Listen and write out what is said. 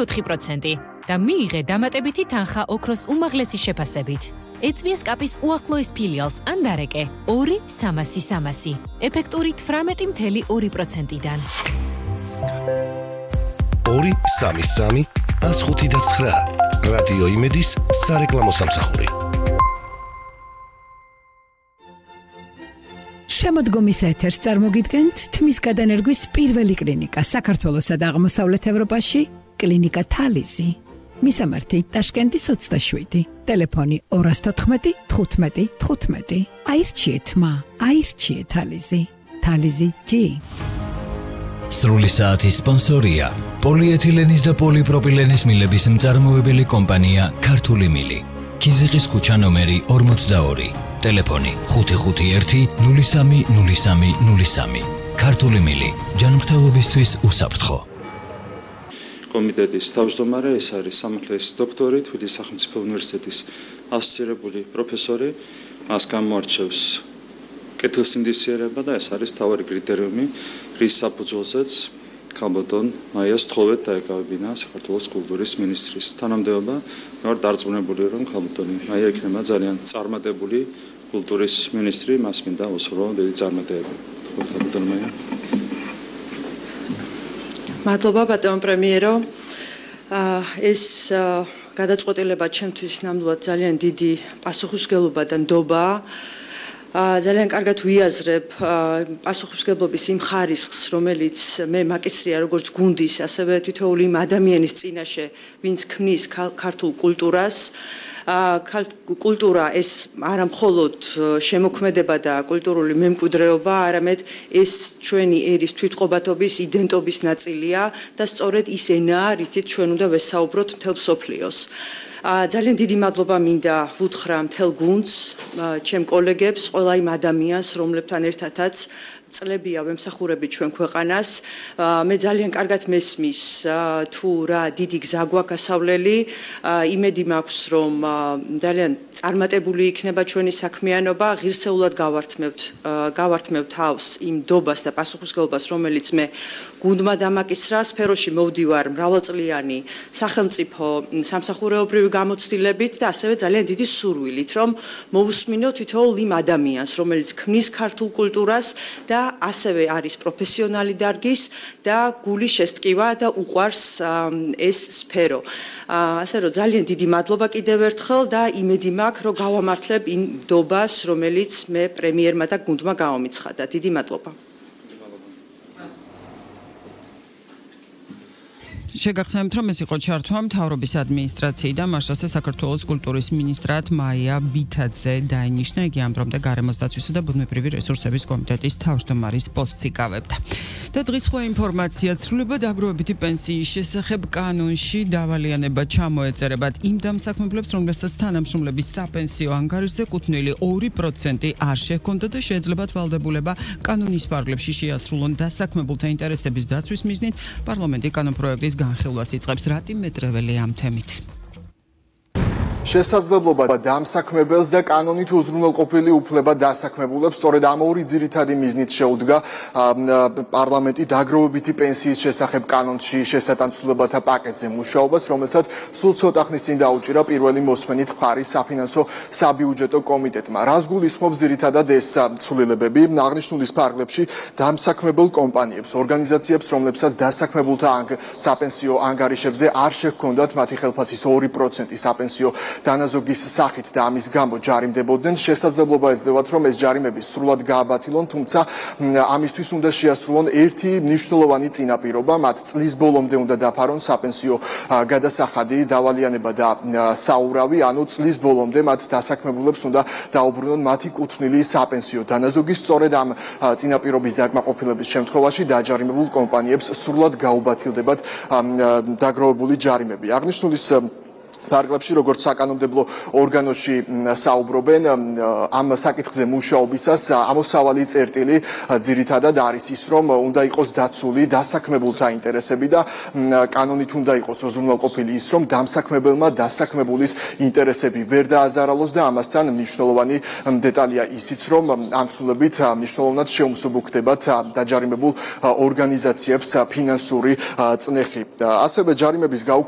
4% და მიიღე დამატებითი თანხა ოქროს უმაღლესი შეფასებით. ეწვია SCAP-ის უახლოეს ფილიალს ან დარეკე 2-300-300, ეფექტური 18.2%-დან. 2-3-3-105-9 რადიო იმედის სარეკლამო სამსახური. შემოდგომის ეთერს წარმოგიდგენთ თმის გადანერგვის პირველი კლინიკა საქართველოსა და აღმოსავლეთ ევროპაში, კლინიკა თალიზი. მისამართი ტაშკენტის 27, ტელეფონი 214 15 15. აირჩიეთ აირჩიეთ თალიზი. თალიზი G. სრული საათის სპონსორია პოლიეთილენის და პოლიპროპილენის მილების მწარმოებელი კომპანია ქართული მილი. ქიზიყის ქუჩა ნომერი 42, ტელეფონი 551-030303. ქართული მილი, ჯანმრთელობისთვის უსაფრთხო. კომიტეტის თავმჯდომარე, ეს არის სამართლის დოქტორი, თბილისის სახელმწიფო უნივერსიტეტის ასოცირებული პროფესორი, მას გამოარჩევს კეთილსინდისიერება და ეს არის მთავარი კრიტერიუმი, რის საფუძველზეც ქალბატონ მაიას თხოვეთ დაეკავებინა საქართველოს კულტურის მინისტრის თანამდებობა. მე ვარ დარწმუნებული, რომ ქალბატონი მაია იქნება ძალიან წარმატებული კულტურის მინისტრი, მას მინდა უსურვო დიდი წარმატება. ქალბატონ მაია. მადლობა ბატონ პრემიერო. ეს გადაწყვეტილება ჩემთვის ნამდვილად ძალიან დიდი პასუხისმგებლობა და ნდობაა. ძალიან კარგად ვიაზრებ პასუხისმგებლობის იმ ხარისხს, რომელიც მე მაკისრია როგორც გუნდის, ასევე თითოეული იმ ადამიანის წინაშე, ვინც ქმნის ქართულ კულტურას. კულტურა ეს არა მხოლოდ შემოქმედება და კულტურული მემკვიდრეობა, არამედ ეს ჩვენი ერის თვითყოფადობის, იდენტობის ნაწილია და სწორედ ის ენაა, რითიც ჩვენ უნდა ვესაუბროთ მთელ მსოფლიოს. ძალიან დიდი მადლობა მინდა ვუთხრა მთელ გუნდს, ჩემ კოლეგებს, ყველა იმ ადამიანს, რომლებთან ერთადაც წლებია ვემსახურებით ჩვენ ქვეყანას. მე ძალიან კარგად მესმის თუ რა დიდი გზა გვაქვს ასავლელი. იმედი მაქვს, რომ ძალიან წარმატებული იქნება ჩვენი საქმიანობა. ღირსეულად გავართმევ თავს იმ ნდობას და პასუხისმგებლობას, რომელიც მე გუნდმა დამაკისრა. სფეროში მოვდივარ მრავალწლიანი სახელმწიფო სამსახურეობრივი გამოცდილებით და ასევე ძალიან დიდი სურვილით, რომ მოვუსმინო თითოეულ იმ ადამიანს, რომელიც ქმნის ქართულ კულტურას და ასევე არის პროფესიონალი დარგის და გული შესტკივა და უყვარს ეს სფერო. ასე რომ ძალიან დიდი მადლობა კიდევ ერთხელ და იმედი მაქვს, რომ გავამართლებ იმ ნდობას, რომელიც მე პრემიერმა და გუნდმა გამომიცხადა. დიდი მადლობა. შეგახსენებთ, რომ ეს იყო ჩართვა მთავრობის ადმინისტრაციიდან მარშალზე საქართველოს კულტურის მინისტრად მაია ბითაძე დაინიშნა. იგი ამბრობდა გარემოს დაცვისა და ბუნებრივი რესურსების კომიტეტის თავმჯდომარის პოსტს იკავებდა. და დღის სხვა ინფორმაცია ცვლილება დაგროვებითი პენსიის შესახებ კანონში დავალიანება ჩამოეწერებათ იმ დამსაქმებლებს, რომლებსაც თანამშრომლების საპენსიო ანგარიშზე კუთვნილი 2% არ შეჰქონდა და შეეძლებათ ვალდებულება კანონის ფარგლებში შეასრულონ დასაქმებულთა ინტერესების დაცვის მიზნით. პარლამენტი კანონპროექტის განხილვას იწყებს. რატი მეტრეველი ამ თემით. შესაძლებლობა დამსაქმებელს და კანონით უზრუნველყოფილი უფლება დასაქმებულებს სწორედ ამ ორი ძირითადი მიზნით შეუდგა პარლამენტი დაგროვებითი პენსიის შესახებ კანონში შესატანცვლებათა პაკეტზე მუშაობას, რომელსაც სულ ცოტა ხნის წინ დაუჭირა პირველი მოსმენით მხარის საფინანსო საბიუჯეტო კომიტეტმა. რას გულისხმობს ძირითადად ეს ცვლილებები? აღნიშნულის ფარგლებში დამსაქმებელ კომპანიებს, ორგანიზაციებს, რომლებსაც დასაქმებულთა საპენსიო ანგარიშებზე არ შეჰქონდათ მათი ხელფასის 2% საპენსიო დანაზოგის სახით და ამის გამო ჯარიმდებოდნენ. შესაძლებლობა ეძლევათ, რომ ეს ჯარიმები სრულად გააბათილონ, თუმცა ამისთვის უნდა შეასრულონ ერთი მნიშვნელოვანი წინაპირობა, მათ წლის ბოლომდე უნდა დაფარონ საპენსიო გადასახადი, დავალიანება და საურავი, ანუ წლის ბოლომდე მათ დასაქმებულებს უნდა დაუბრუნონ მათი კუთვნილი საპენსიო დანაზოგი. სწორედ ამ წინაპირობის დაკმაყოფილების შემთხვევაში დაჯარიმებულ კომპანიებს სრულად გაუბათილდებათ დაგროვებული ჯარიმები. აღნიშნულის ფარგლებში, როგორც საკანონმდებლო ორგანოში საუბრობენ, ამ საკითხზე მუშაობისას ამოსავალი წერტილი ძირითადად არის ის, რომ უნდა იყოს დაცული დასაქმებულთა ინტერესები და კანონით უნდა იყოს უზრუნველყოფილი ის, რომ დამსაქმებელმა დასაქმებულის ინტერესები ვერ დააზარალოს და ამასთან მნიშვნელოვანი დეტალია ისიც, რომ ამ ცვლილებით მნიშვნელოვნად შეუმსუბუქდებათ დაჯარიმებულ ორგანიზაციებს ფინანსური წნეხი. ასევე ჯარიმების გაუქმება